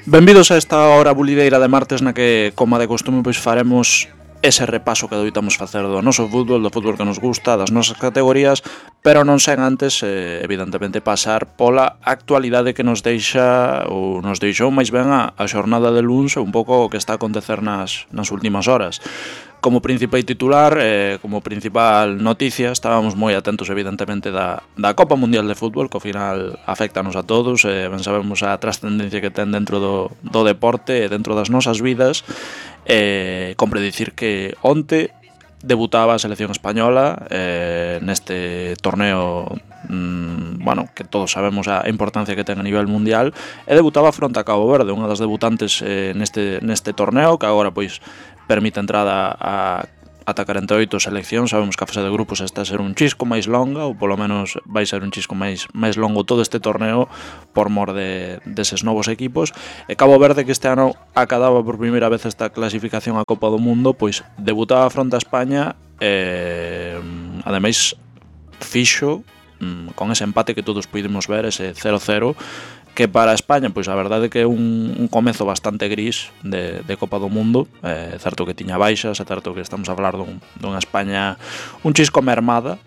Benvidos a esta hora bulideira de martes na que, como de costume, pois faremos ese repaso que doitamos facer do noso fútbol, do fútbol que nos gusta, das nosas categorías, pero non sen antes, evidentemente, pasar pola actualidade que nos deixa, ou nos deixou máis ben a xornada de luns, un pouco o que está a acontecer nas últimas horas. Como principal titular, como principal noticia, estábamos moi atentos evidentemente da Copa Mundial de Fútbol, que ao final afectanos a todos, ben sabemos a trascendencia que ten dentro do deporte e dentro das nosas vidas. Compre dicir que onte debutaba a selección española neste torneo, que todos sabemos a importancia que ten a nivel mundial, e debutaba fronte a Cabo Verde, unha das debutantes neste torneo, que agora pois permite a entrada a ata 48 seleccións. Sabemos que a fase de grupos está a ser un chisco máis longa, ou polo menos vai ser un chisco máis longo todo este torneo por mor deses novos equipos. E Cabo Verde, que este ano acadaba por primeira vez esta clasificación á Copa do Mundo, pois debutaba fronte a España e ademais fixo con ese empate que todos pudimos ver, ese 0-0, que para España, pois a verdade que é un comezo bastante gris de Copa do Mundo. É certo que tiña baixas, é certo que estamos a falar dunha España un chisco mermada,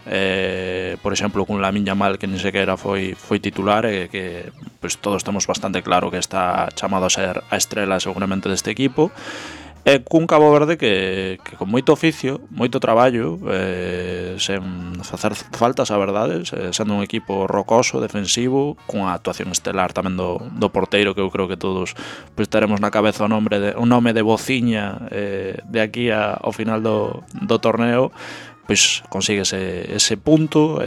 por exemplo, cun Lamine Yamal que nin sequera foi titular, e que pois todos temos bastante claro que está chamado a ser a estrela seguramente deste equipo. E cun Cabo Verde que con moito oficio, moito traballo, sen facer faltas, a verdade, sendo un equipo rocoso, defensivo, cunha actuación estelar tamén do porteiro, que eu creo que todos pois teremos na cabeza o nome de Bociña de aquí ao final do torneo. Pois consigue ese punto,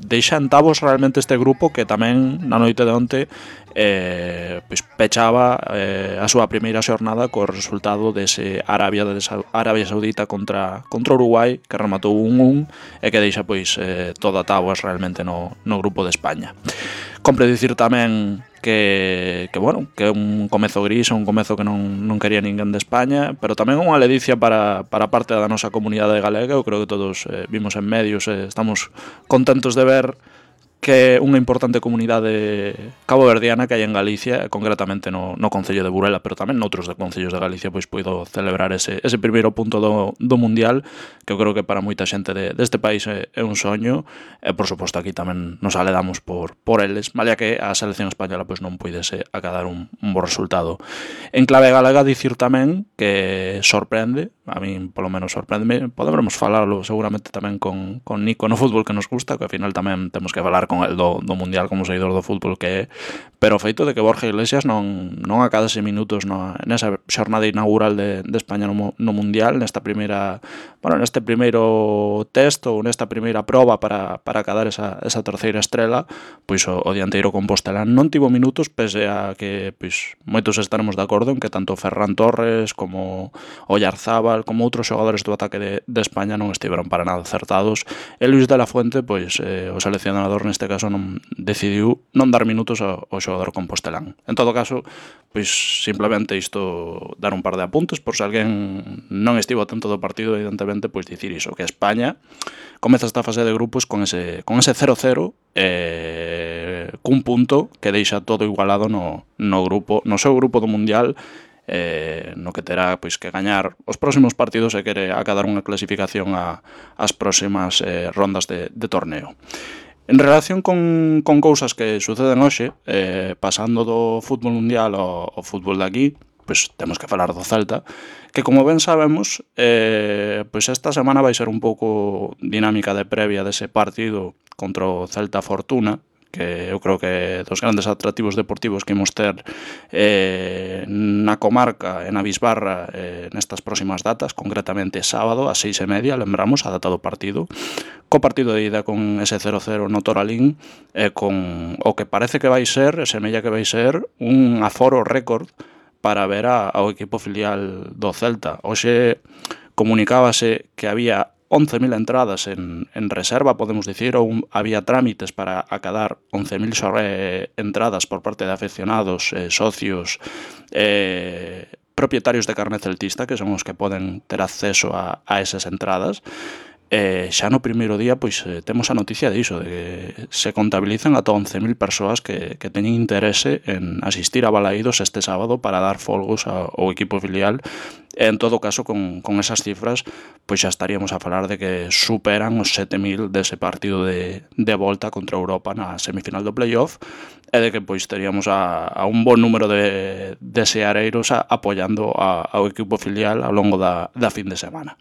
deixa en tabos realmente este grupo, que tamén na noite de onte pois pechaba a súa primeira xornada co resultado dese Arabia Saudita contra Uruguai, que rematou 1-1 e que deixa pois toda a táboas realmente no grupo de España. Compre dicir tamén que é un comezo gris, un comezo que non quería ninguén de España, pero tamén unha ledicia para parte da nosa comunidade galega. Eu creo que todos vimos en medios, estamos contentos de ver que é unha importante comunidade caboverdiana que hai en Galicia, concretamente no concello de Burela, pero tamén noutros concellos de Galicia, pois puido celebrar ese primeiro punto do Mundial, que eu creo que para moita xente deste país é un soño, e por suposto aquí tamén nos aledamos por eles, malia que a selección española pois non puidese acadar un bo resultado. En clave galega, dicir tamén que sorprende, a min polo menos sorprende, podemos falarlo seguramente tamén con Nico no fútbol que nos gusta, que ao final tamén temos que falar con el do Mundial como seguidor do fútbol que é, pero o feito de que Borja Iglesias non acadase minutos nesa xornada inaugural de España no Mundial, neste primeiro test ou nesta primeira proba para acadar esa terceira estrela, pois o dianteiro compostelán non tivo minutos, pese a que pois moitos estaremos de acordo en que tanto Ferran Torres como Oyarzábal como outros xogadores do ataque de España non estiveron para nada acertados, e Luis de la Fuente, pois o seleccionador neste caso decidiu non dar minutos ao xogador compostelán. En todo caso, pois simplemente isto, dar un par de apuntes por se alguén non estivo atento do partido, evidentemente, pois dicir iso, que España comeza esta fase de grupos con ese 0-0 cun punto que deixa todo igualado no seu grupo do Mundial, no que terá pois que gañar os próximos partidos e quere acadar unha clasificación ás próximas rondas de torneo. En relación con cousas que suceden hoxe, pasando do fútbol mundial ao fútbol de aquí, pois temos que falar do Celta, que como ben sabemos, pois esta semana vai ser un pouco dinámica de previa dese partido contra o Celta Fortuna, que eu creo que dos grandes atractivos deportivos que imos ter na comarca e na Bisbarra nestas próximas datas, concretamente sábado ás 6:30, lembramos a data do partido, co partido de ida con ese 0-0 no Toralín, con o que parece que vai ser, semella que vai ser un aforo récord para ver ao equipo filial do Celta. Hoxe comunicábase que había 11.000 entradas en reserva, podemos dicir, ou había trámites para acadar 11.000 entradas por parte de afeccionados, socios, propietarios de carné celtista, que son os que poden ter acceso a esas entradas. xa no primeiro día pois temos a noticia diso, de que se contabilizan ata 11.000 persoas que teñen interese en asistir a Balaídos este sábado para dar folgos ao equipo filial. E en todo caso, con esas cifras, pois xa estaríamos a falar de que superan os 7.000 dese partido de volta contra Europa na semifinal do playoff, e de que pois teríamos a un bon número de seareiros apoiando ao equipo filial ao longo da fin de semana.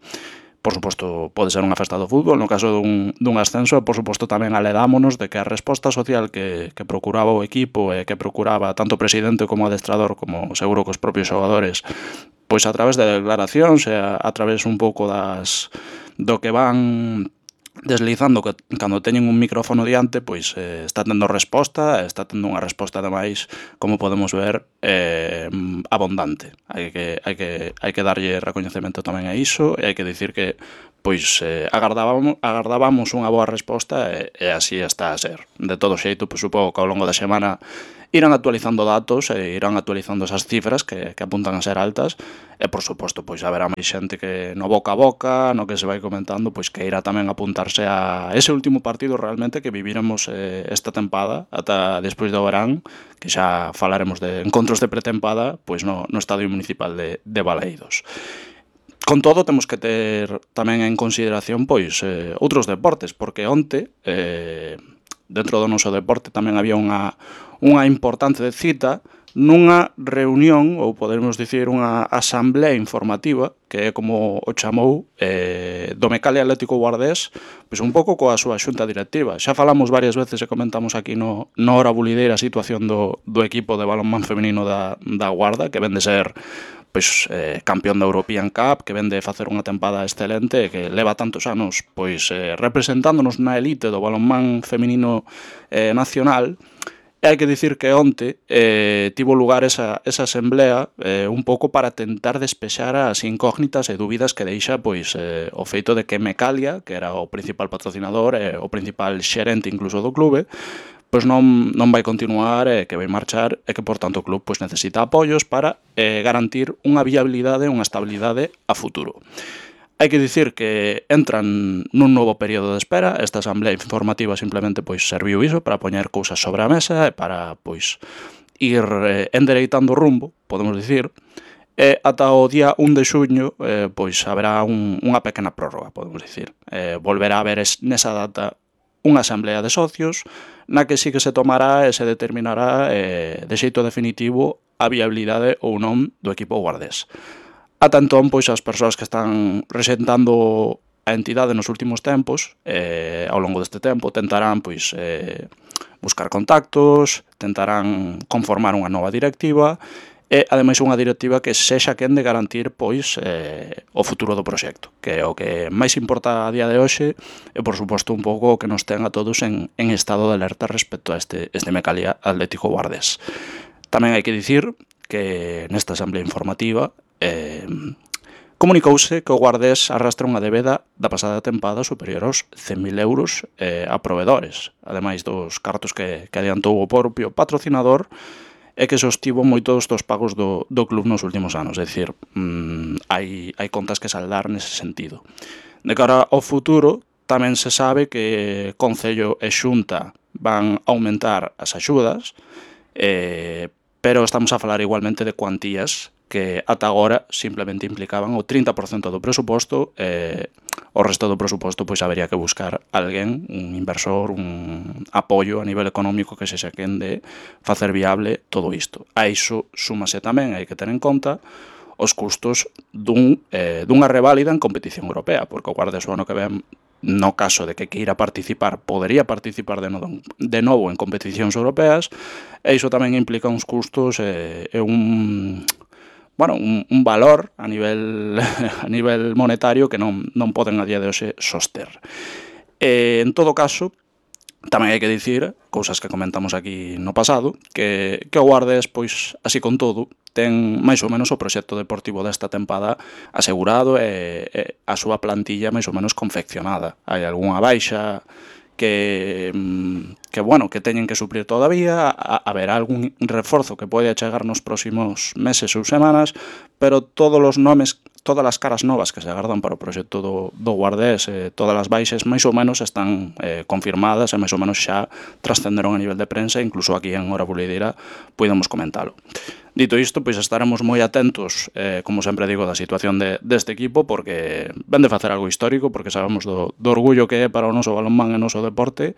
Por suposto, pode ser unha festa do fútbol, no caso dun ascenso, e por suposto tamén aledámonos de que a resposta social que procuraba o equipo e que procuraba tanto o presidente como o adestrador, como seguro que os propios xogadores, pois a través de declaracións e a través un pouco do que van deslizando que cando teñen un micrófono diante, pois está tendo resposta, está tendo unha resposta ademais, como podemos ver, abundante. Hai que darlle recoñecemento tamén a iso, e hai que dicir que pois agardábamos unha boa resposta, e así está a ser. De todo xeito, pois supongo que ao longo da semana irán actualizando datos e irán actualizando esas cifras que apuntan a ser altas, e por suposto pois haberá máis xente que no boca a boca, no que se vai comentando, pois que irá tamén apuntarse a ese último partido realmente que viviremos esta tempada ata despois do verán, que xa falaremos de encontros de pretempada pois no Estadio Municipal de Balaídos. Con todo, temos que ter tamén en consideración pois outros deportes, porque onte dentro do noso deporte tamén había unha importante cita nunha reunión, ou podemos dicir unha asamblea informativa, que é como o chamou, do Mecalia Atlético Guardés, pois un pouco coa súa xunta directiva. Xa falamos varias veces e comentamos aquí no Hora Bulideira a situación do equipo de balonmán feminino da Guarda, que ven de ser pois campeón da European Cup, que ven de facer unha tempada excelente, que leva tantos anos pois representándonos na elite do balonmán feminino nacional. E hai que dicir que onte tivo lugar esa asamblea un pouco para tentar despexar as incógnitas e dúbidas que deixa pois o feito de que Mecalia, que era o principal patrocinador e o principal xerente incluso do clube, pois non vai continuar, que vai marchar, e que, por tanto, o club pois necesita apoios para garantir unha viabilidade, unha estabilidade a futuro. Hai que dicir que entran nun novo período de espera. Esta asamblea informativa simplemente pois serviu iso para poñer cousas sobre a mesa e para pois ir endereitando o rumbo, podemos dicir, e ata o día 1 de xuño pois haberá unha pequena prórroga, podemos dicir. Volverá a haber nesa data unha asamblea de socios na que sí que se tomará e se determinará de xeito definitivo a viabilidade ou non do equipo guardés. Ata entón, pois as persoas que están resentando a entidade nos últimos tempos, ao longo deste tempo, tentarán pois buscar contactos, tentarán conformar unha nova directiva, e ademais unha directiva que sexa quen de garantir pois o futuro do proxecto, que é o que máis importa a día de hoxe, e por suposto un pouco o que nos ten a todos en estado de alerta respecto a este Mecalia Atlético Guardés. Tamén hai que dicir que nesta asamblea informativa comunicouse que o Guardés arrastra unha débeda da pasada tempada superior aos 100.000 euros a provedores, ademais dos cartos que adiantou o propio patrocinador e que sostivo moitos dos pagos do club nos últimos anos. É dicir, hai contas que saldar nese sentido. De cara ao futuro, tamén se sabe que Concello e Xunta van aumentar as axudas, pero estamos a falar igualmente de cuantías que ata agora simplemente implicaban o 30% do presuposto, o resto do presuposto pois habería que buscar alguén, un inversor, un apoio a nivel económico que se quen de facer viable todo isto. A iso súmase tamén, hai que ter en conta, os custos dunha reválida en competición europea, porque o Guardés o ano que ven, no caso de que queira participar, podería participar de novo en competicións europeas, e iso tamén implica uns custos e un valor a nivel monetario que non poden a día de hoxe soster. En todo caso, tamén hai que dicir, cousas que comentamos aquí no pasado, que o Guardés, pois, así con todo, ten máis ou menos o proxecto deportivo desta tempada asegurado e a súa plantilla máis ou menos confeccionada. Hai algunha baixa que teñen que suplir todavía, haberá algún reforzo que pode chegar nos próximos meses ou semanas, pero todos os nomes todas as caras novas que se agardan para o proxecto do Guardés, todas as baixes máis ou menos están confirmadas e máis ou menos xa trascenderon a nivel de prensa, incluso aquí en Hora Bulideira podemos comentalo. Dito isto, pois estaremos moi atentos, como sempre digo, da situación deste equipo, porque ven de facer algo histórico, porque sabemos do orgullo que é para o noso balonmán e o noso deporte,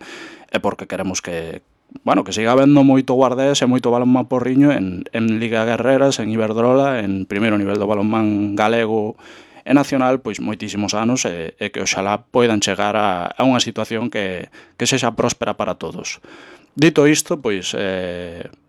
e porque queremos que siga habendo moito Guardés e moito balonmán porriño en Liga Guerreras, en Iberdrola, en primeiro nivel do balonmán galego e nacional, pois moitísimos anos, e que oxalá poidan chegar a unha situación que sexa próspera para todos. Dito isto, pois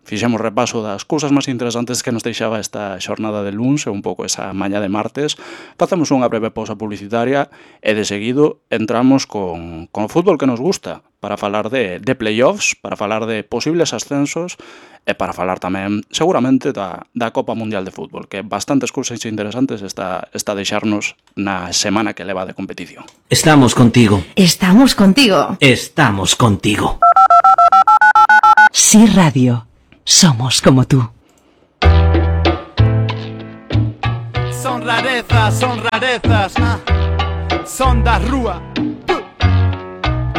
fixemos repaso das cousas máis interesantes que nos deixaba esta xornada de luns e un pouco esa mañá de martes. Facemos unha breve pausa publicitaria e de seguido entramos con o fútbol que nos gusta, para falar de playoffs, para falar de posibles ascensos e para falar tamén, seguramente, da Copa Mundial de Fútbol, que bastantes cousas interesantes está a deixarnos na semana que leva de competición. Estamos contigo. Estamos contigo. Estamos contigo. Sí Radio. Somos como tú. Son rarezas, son da rúa.